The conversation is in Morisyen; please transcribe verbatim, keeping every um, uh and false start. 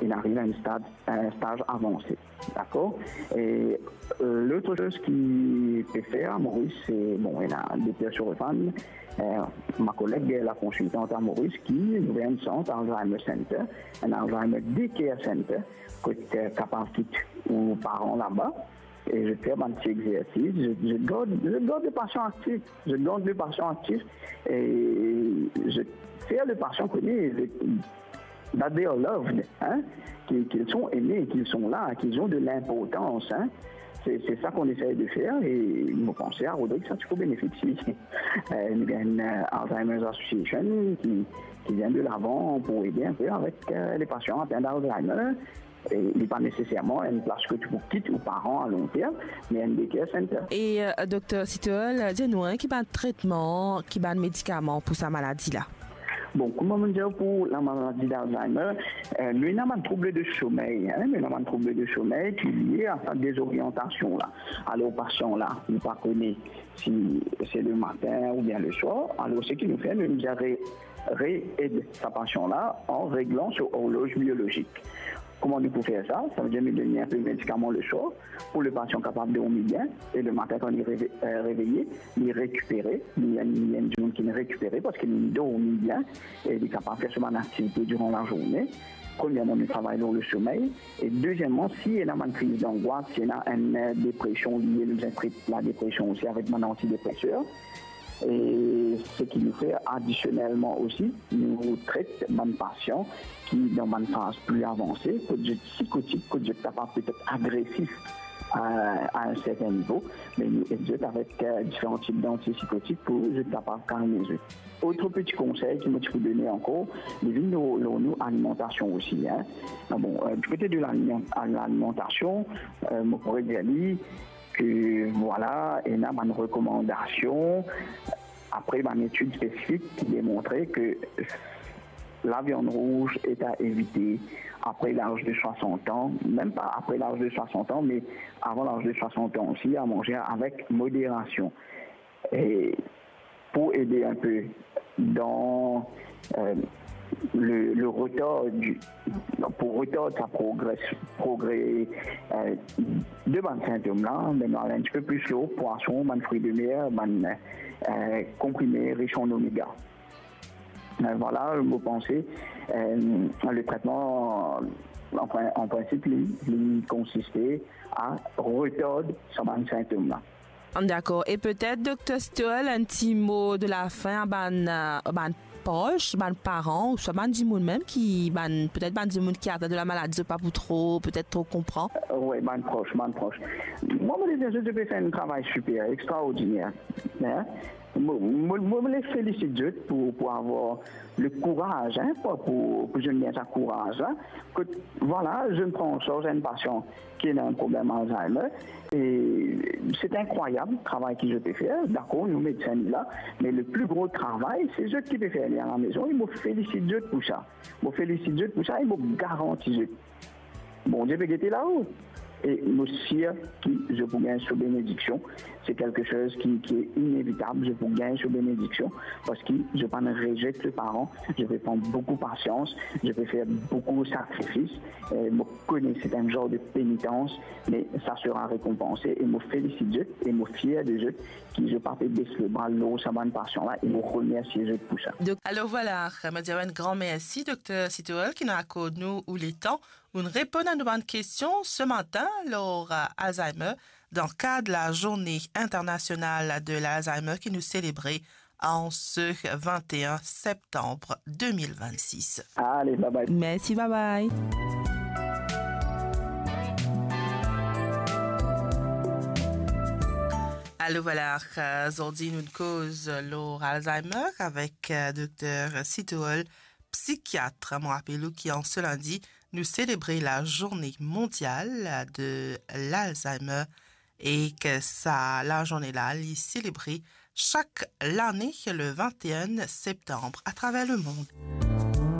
il arrive à un stade, un stage avancé. D'accord? Et, euh, l'autre chose qui peut faire à Maurice, c'est, bon, il a des pères sur fan, euh, ma collègue, la consultante à Maurice, qui a ouvert un centre Alzheimer Center, un Alzheimer Daycare Center, qui est capable de quitter aux parents là-bas, et je fais un petit exercice, je, je garde, je garde le patient actif, je garde le patient actif, et je fais le patient connaître, that they are loved, hein, qu'ils, qu'ils sont aimés, qu'ils sont là, qu'ils ont de l'importance, hein. C'est, c'est ça qu'on essaie de faire et nous pensons à Rodrigue, ça, tu peux bénéficier. Euh, il y a un, euh, Alzheimer's Association qui, qui vient de l'avant pour aider un peu avec, euh, les patients atteints d'Alzheimer. E li pa neseserman enn plas kot ou pou kit ou paran a long term, me enn daycare center. E, euh, Dokter Sitoel, dir nou, hein, ki bann tretman, ki bann medikaman pou sa maladi la? Bon, kouma mo dir, pou la maladi d'Alzheimer, euh, nou ena bann trouble de somey, hein, nou ena bann trouble de somey ki lie a sa dezoriantasion la. Alor, pasian la, nou pa kone si se le matin oubien le swar. Alor, seki nou fer, nou bizin re-, re-ed sa pasian la an reglan so orloz biolozik. Kouma nou pou fer sa? Savedir nou donn li enpe medikaman le swar pou le pasian kapav dormi bien, e le matin, kan li reve-, euh, reveye, li rekipere, li, li enn dimoun ki rekipere parski li dormi bien e li kapav fer so bann aktivite diran lazourne. Premierman, nou travay lor le somey, e deziemman, si ena bann kriz dangwas, si ena enn, euh, depresion, li, nou bizin tret ladepresion osi avek bann antidepreseur. E seki nou fer adisionelman osi, nou tret bann pasian ki dan bann faz pli avanse, kot zot sikotik, kot zot kapav petet agresif a, a enn serten nivo, me nou ed zot avek, euh, diferan tip dantipsikotik pou zot kapav kalme zot. Otre peti konsey ki mo ti pou done ankor, li vinn lor, lor nou alimantasion osi, hein. Ah bon, euh, du kote de l'aliman-, a l'alimantasion, euh, mo pou dir li, ke, vwala, ena bann rekomandasion, apre bann etid spesifik ki demontre ke laviann rouz est à éviter après l'âge de soixante ans, mem pa apre laz de soixante ans, me avan laz de soixante ans osi, a manze avek moderasion. E pou ede enpe dan, euh, le, le retar di, pou retard sa progre, progre, euh, de bann sintom la, me nou al enn tipe pli lor pwason, bann fri de mer, bann, euh, konprime ris an omega. Euh, vwala, mo panse, euh, le tretman, an prin-, an prinsip, li, li konsiste a retard sa bann sintom la. Dakor. E petet, Dokter Stoel, enn ti mo de lafin a bann, euh, bann pros, bann paran, ouswa bann dimoun mem ki, bann, petet bann dimoun ki atenn de la maladi, zot pa pou tro, petet tro konpran. Euh, wi, bann pros, bann pros. Mwa, mo dir zot, zot pe fer enn travay siper, extraordiner. Hein? Mo, mo, mo, mo les felisit zot pou, pou avoir le kouraz, hein, pou, pou, pou zot gagn sa kouraz la. Kot, vwala, zot pran an sarz enn pasian ki ena enn problem Alzheimer, e se inkrwayab travay ki zot pe fer. Dakor, nou medsin la, me le pli gro travay, se zot ki pe fer li a la mezon, e mo felisit zot pou sa. Mo felisit zot pou sa e mo garanti zot, Bondie pe gete lao. E mo sir ki zot pou gagn so benediksion. Se kelke soz ki, ki inevitab, zot pou gagn so benediksion, parski zot pa'nn rezet le paran, zot pe pran boukou pasians, zot pe fer boukou sakrifis. E mo kone se enn zar de penitans, me sa sera rekonpanse. E mo felisit zot e mo fier de zot ki zot pa pe bes lebra lor sa bann pasian la, e mo remersie zot pou sa. Donk, alor vwala, mo dir enn gran mersi, Dokter Sitoel, ki inn akord nou ou letan, ou'nn reponn a nou bann kestion se matin lor, euh, Alzheimer, dan kad la Journée Internationale de l'Alzheimer ki nou selebre an se vingt et un septembre deux mille vingt-six. Ale, bye bye. Mersi, bye bye. Alor vwala, euh, zordi nou koz lor Alzheimer avek, euh, Dokter Sitoel, psikiat. Mo rapel ou ki an se lindi, nou selebre la Journée Mondiale de l'Alzheimer e ki sa lazourne la, li selebre sak lane le vingt et un septembre atraver lemond.